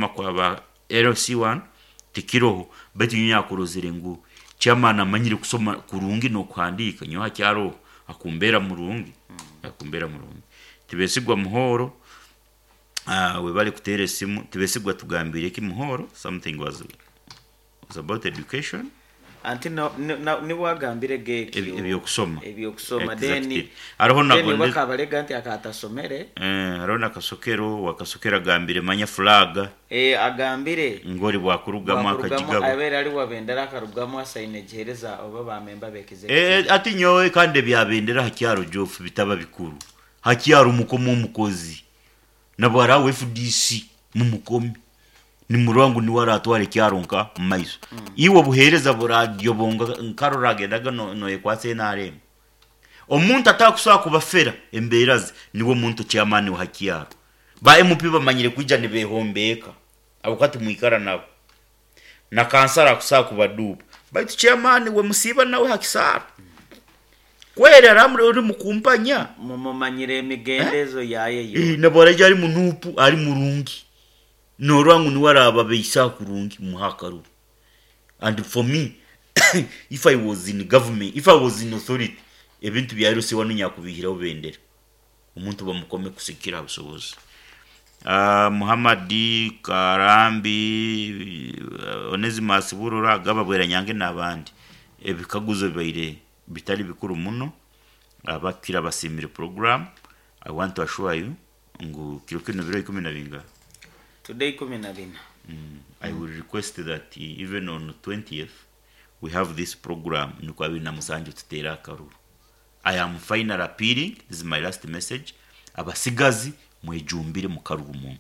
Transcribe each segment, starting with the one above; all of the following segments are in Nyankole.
Kwa ba LC1 tikiroho, baitu nyowe nyakurozere ngu chairman amanyire kusoma kurungi n'okuhandiika, nyowe hakyaroho akumbeera murungi, akumbeera murungi. Tibesigwa Muhoro, webale kuteera esimu. Tibesigwa tugambiire ki Muhoro? Something was about education. Anti no, no, na, niwe agambire ge ekyo. Eby'okusoma. Eby'okusoma. Then, Exactly. Hariho then nabwo oba akabarega nti akatasomere. Eh, hariho na Kasokero, wa Kasokero agambire manya flag. Eh, agambire. Ngori bwakurugamu Bwakurugamu, akagigaba. abeere ari wa bendera akarugamu asaine gihereza oba ba member bekize. Eh, ati nyowe kandi ebya bendera hakyaro Jofu bitaba bikuru. Hakyaro mukoma omukozi. Nabwo hariho FDC mumukomi. Nimurora ngu niwe aratwara ekyaro nka mumaiso. Iwe obuheereza buradyobonga nkarora agendaga noyekwatsa NRM. Omuntu atakusobola kubafera embeera ze niwe muntu chairman wa hakyaro. Ba MP bamanyire kwija nibehombeeka ahabw'okuba timwikara nabo. Na kansara akusobola kubaduuba. Baitu chairman we musiiba nawe hakisaaro. Kweri aramuri ori mukumpanya. Mumumanyire emigendezo yaye yo. Nabwo araija ari munuupu ari murungi. Norora ngu niwe arababeisa kurungi muhe akaruru. And for me if I was in government, if I was in authority, ebintu bya LC1 nyakubihiraho bendera. Omuntu bamukome kusikira aha busobozi. Muhammad Karambi, Onesimus Burora, Gaba Bweranyange n'abandi. Ebikaguzo bibaire bitari bikuru muno. Abakira basimire program. I want to assure you ngu kiro kino biro ikumi na bingahe? Today ikumi na bina. I will request that even on 20th we have this program nukwo abiri na musanju tuteere akaruru. I am final appealing, this is my last message. Abasigazi mwejumbire mukaruru muno.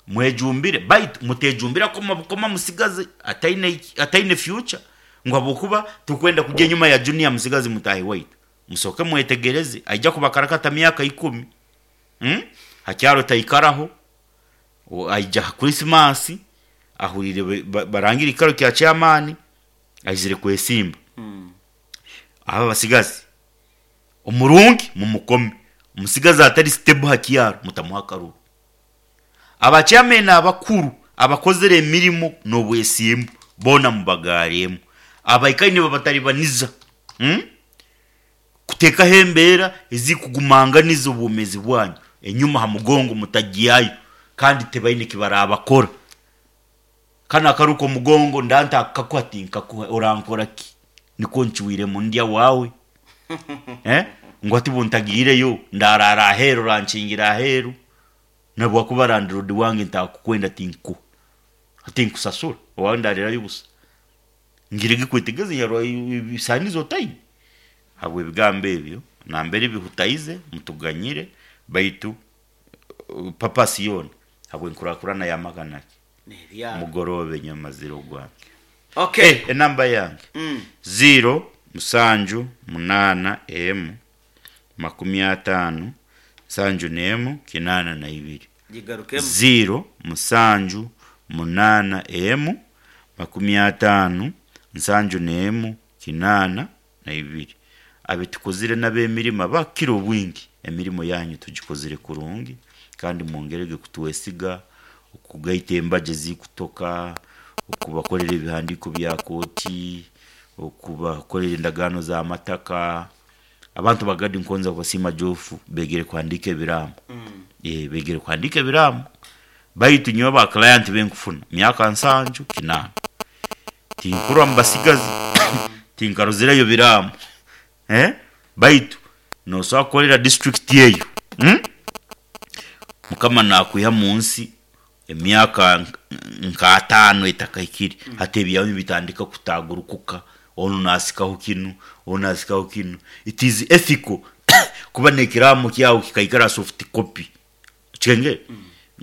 Mwejumbire baitu mutejumbira koma bukoma musigazi ataine future ngu habwokuba tukwenda kujya enyuma ya junior musigazi mutahi waitu. Musooke mwetegereze aija kubakarakata myaka 10. Hakyaro taikaraho. Aija ha Christmas ahurire barangire ekikaro kya chairman aizire kwesimba. Aba abasigazi omurungi mumukome, omusigazi atari stable ha kyaro mutamuha akaruru. Aba chairman abakuru abakozire emirimo n'obwesimbu boona mubagaaremu. Abaikaire nibabataribaniza kuteekaho embeera ezikugumanganiza obwomeezi bwanyu enyuma ha mugongo mutagyayo kandi tibaine kibarabakora. Kanu akaruka omugongo ndanta akakuha tinkakuha orankora ki? Nikwo ncuiremu ndya waawe. Ngu hati buntagiireyo ndarara aheeru orankingira aheeru nabwakuba landlord wange ntakukwenda tinkuha. Tinkusasura owaawe ndarirayo busa. Ngirege kwetegeza nyarwa ebisaanizo otaine. Habw'ebigambo ebyo nambere bihutaize mutuganyire baitu purpose yoona habw'enkurakurana y'amaka naki? N'ebyaro. Mugoroobe nyowe mazire ogwange. Okay. Enamba yange ziro musanju munaana emu makumi ataano nsanju n'emu kinaana na ibiri. Gigarukemu. Ziro musanju munaana emu makumi ataano nsanju n'emu kinaana na ibiri. Abitukozire n'abemirimo abakira obwingi emirimo yanyu tugikozire kurungi kandi mwongerege kutwesiga, okugaita embaga ezikutoka, okubakorera ebihandiiko bya kooti, okubakorera endagaano z'amataka. Abantu bagadi nkonza kubasiima Jofu begere kuhandiika ebiraamo. Begere kuhandiika ebiraamo baitu nyowe ba client benkufuna myaka nsanju kinaana tinkurwa mubasigazi tinkarozireyo biraamo baitu nosobola kukorera district eyo Mukama nakwiha munsi emyaka nka ataano etakahikire hati ebyawe nibitandika kutagurukuka onu nasikaho kinu onu nasikaho kinu. It is ethical kuba n'ekiraamo kyawe kikaikara soft copy okihengere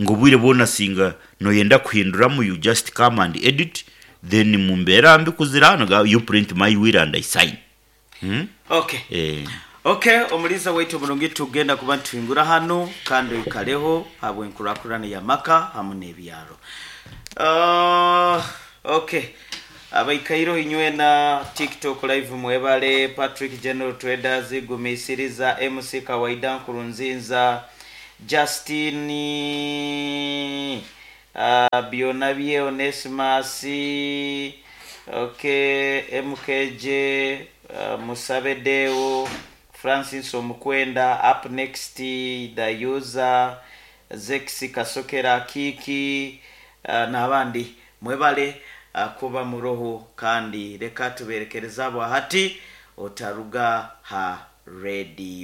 ngu obwire bwona singa noyenda kuhinduramu you just come and edit then mumbeera mbi kuzira nogamba you print my will and I sign. Okay. Okay, omuliisa waitu omurungi tugenda kuba nituhingura hanu kandi oikareho habw'enkurakurana y'amaka hamu n'ebyaro. Okay. Abaikaireho inywena TikTok live mwebale, Patrick General Traders, Gumisiriza, MC Kawaida Nkurunzinza, Justine. Byonabye Onesimus, okay, MKJ, Musabe Deo, Francis Omukwenda, up next the user Zex Kasokera Kiki, n'abandi mwebale kuba muroho kandi reka tuberekereza abo hati otaruga ha radio.